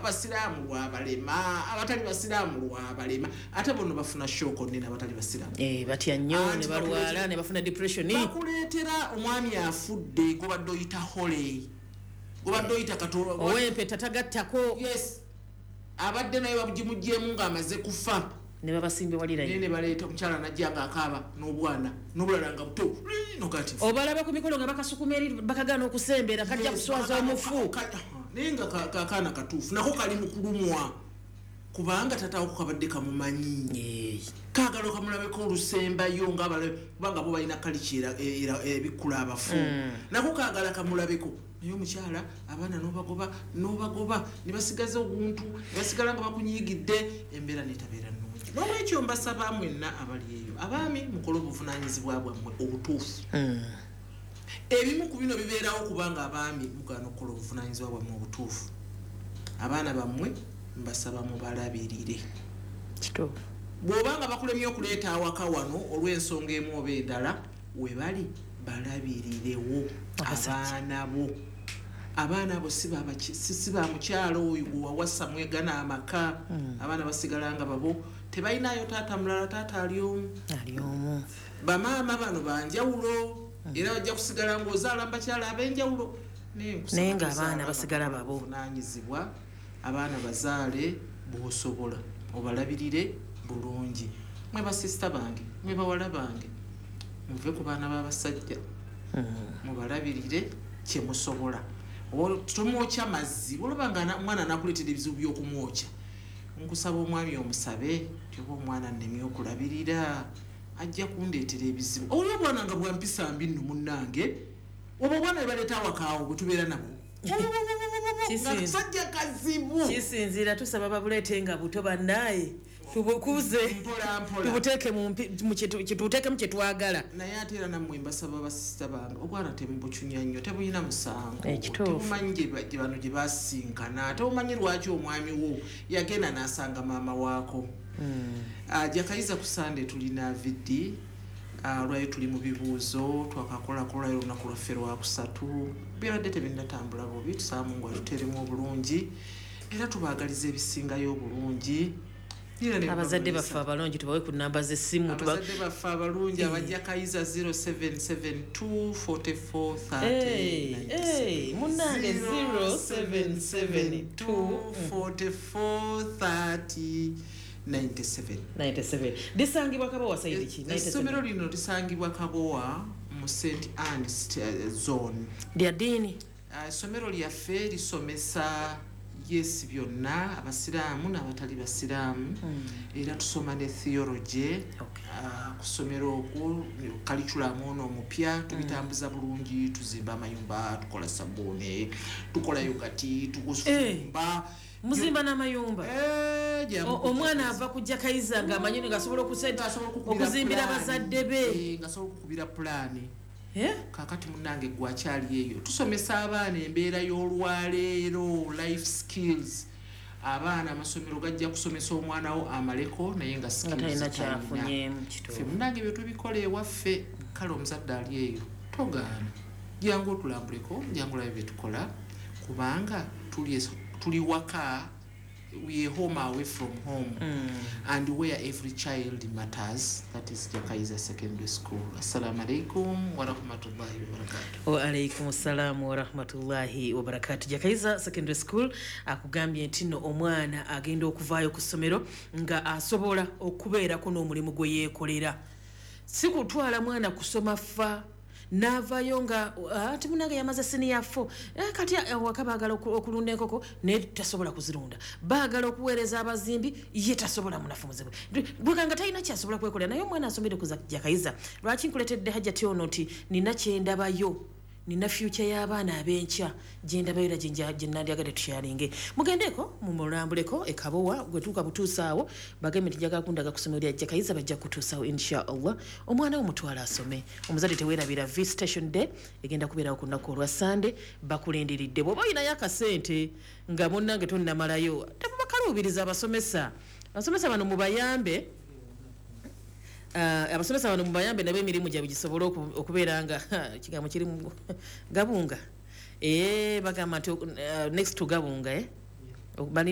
Abasiraamu lwabalema, abatali basiraamu lwabalema, ate bono bafuna shock nene abatali basiraamu. Eh, batya nnyo. Anti ne balwala ne bafuna depression. Bakuleetera omwami afudde gobadde oyita holy, gobadde oyita Katonda. Ow'empeta tagattako. Yes, abadde naye bagimugyemu ng'amaze kufa. Ne babasimbe naye walirayo. Ne baleeta omukyala najja ng'akaaba n'obwana n'obulala nga buto nogati. Obalaba ku mikolo nga bakasukuma eri, bakagaana okusembera, kajja kuswaza omufu. Naye nga kakaana katuufu nako kali mu kulumwa kubanga tatawo kabadde kamumanyi. Kaagala okamulabeko olusembayo ngaabalabe, kubanga bo balina kaliki ebikkula abafu. Nako kaagala kamulabeko, naye omukyala abaana nobagoba nobagoba ne basigaza oguntu, ne basigala nga bakunyiigidde, embeera netabeera nnungi. Nolwekyo mbasaba mwenna abali eyo, abaami, mukole obuvunanyizibwa bwammwe obutuufu. Ebimu ku bino bibeerawo kubanga abaami mugaana okukola obuvunanyizibwa bwammwe obutuufu. Abaana bammwe mbasaba mubalabirire. Bw'obanga bakulemye okuleeta awaka wano olw'ensonga emu oba endala, webali balabirirewo. Abasajja. Abaana bo, abaana abo si ba mukyalo oyo gwewawasa mwegana amaka. Abaana basigala nga babo, tebalinayo taata mulala, taata ali omu. Ali omu. Bamaama bano banjawulo, era bajja kusigala ng'ozaala mubakyala ab'enjawulo. Naye nkusaba Naye ng'abaana tuzaala basigala babo. Obuvunaanyizibwa, abaana bazaale bw'osobola, obalabirire bulungi. Mwe basisita bange, mwe bawala bange, muve ku baana b'abasajja. Mubalabirire kyemusobola. Oba tomwokya mazzi, olaba nga omwana anakuleetera ebizibu by'okumwokya, nkusaba omwami omusabe ti oba omwana nnemye okulabirira, ajja kundeetera ebizibu. Oli obwana nga bwampisa mbi nno munnange, oba obwana bwe baleeta awakaawo bwe tubeera nabo nga kasajja kazibu. Kisinziira, tusaba babuleete nga buto bannaaye, tubukuze. Mpola mpola. Tubuteeke mu tubuteekemu kye twagala. Naye ate era nammwe mbasaba, basisita bange, obwana temubucunya nnyo, tebulina musango. Ekituufu. Tebumanyi gye bano gye basinkana, tebumanyi lwaki omwami wo yagenda n'asanga maama waako. Jakayiza ku Sande tulina VD. Lwayo tuli mu bibuuzo twakakolako lwayo olunaku lwaffe lwakusatu, byabadde tebinnatambula bubi. Tusaba Mungu atuteremu obulungi, era tubaagaliza ebisingayo obulungi. Era ne Abazadde bamulisa. baffe abalungi tubawe ku namba z'essimu. Abazadde baffe abalungi abajja Kayiza, 0772 44 Hey, 30. hey, munnange, 0772 44 30 97. 97. Lisangibwa Kabowa side ki? Essomero 97. lino lisangibwa Kabowa mu St Anne Zone. Lya ddiini? Essomero lyaffe lisomesa, yes, byonna, abasiraamu n'abatali basiraamu, era tusoma ne theology. Ku ssomero okwo curriculum ono omupya tubitambuza bulungi. Tuzimba amayumba, tukola sabbuuni, tukola yogati, tugufumba. Muzimba n'amayumba? Eh, Omwana ava kujja Kayiza ng'amanyi ng'asobola Ng'asobola okukubira okuzimbira pulaani. bazadde be. Eh, ng'asobola okukubira pulaani. Eh? Kakati munange gwakyali eyo, tusomesa abaana embeera y'olwaleero, life skills. Abaana amasomero gajja kusomesa omwana wo amaleko, naye nga Nga skills talina talina. kyafunyeemu. Ffe Kituufu. munange bye tubikola ewaffe. Kale omuzadde ali eyo, togaana, jangu otulambuleko, jangu olabe bye tukola, kubanga tuli waka. We are home away from home and where every child matters. That is Jakaiza Secondary School. Assalamu alaikum warahmatullahi wabarakatuh. Waalaikum salaamu warahmatullahi wabarakatu. Jakaiza Secondary School akugambye nti nno omwana agenda okuvaayo ku ssomero nga asobola okubeerako n'omulimu gwe yeekolera, si kutwala mwana kusoma fa n'avaayo nga ati munange yamaze senior four, kati awaka baagala okulunda enkoko naye tasobola kuzirunda, baagala okuweereza abazimbi ye tasobola, munafu muzibu bwekanga talina kyasobola kwekolera. Naye omwana asomere ku Jakayiza. Lwaki nkuletedde Hajjati ono? Nti nina kyendabayo, nina future y'abaana ab'enkya gyendabayo, era gye nandyagadde tusharinge. Mugendeko mumulambuleko ekabowa, gwetuuka butuusaawo bagambe nti njagala kundaga ku ssomero lya Jakayiza, bajja kutuusaawo insha Allah. Omwana wo mutwala asome. Omuzadde teweerabira visitation day egenda kubeerawo ku lunaku olwa Sande, bakulindiridde. Bw'oba olinayo akasente nga munnange tonnamalayo, tebubakaluubiriza abasomesa. Abasomesa bano mubayambe. Abasomesa bano mubayambe nabo emirimu gyabwe gisobole okubeera nga kigambo kiri mu gabunga. Bagamba nti next to gabunga, eh? Balina